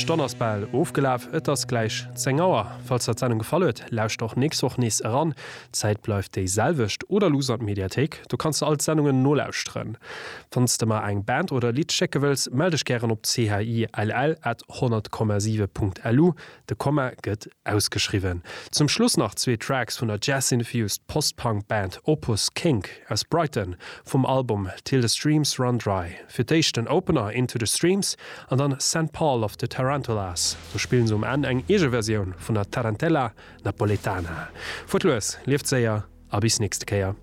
Stonn ass bal ofgelaf, et ass gläich 10 Auer. Falls der d'Sendung gefall huet, lauschter och nächst Woch nees eran. D'Zäit bleift déi selwecht. Oder luuss an d'Mediathéik, do kanns de all d'Sendungen nolauschteren. Wann s de mer eng Band oder e Lidd schécke wëlls, mell dech gären op chill at 100,7 Punkt lu. De Komma gëtt ausgeschriwwen. Zum Schluss nach zwee Tracks vun der Jazz-infused Post-Punk Band Opus Kink aus Brighton vum Album Till the Streams Run Dry. Fir d'éischt den Opener Into the Streams an dann Saint Paul of the Tarantulas. Do spillen se um Enn eng eege Versioun vun der Tarantella Napoletana. Fuert lues, lieft séier a bis nächste Kéier.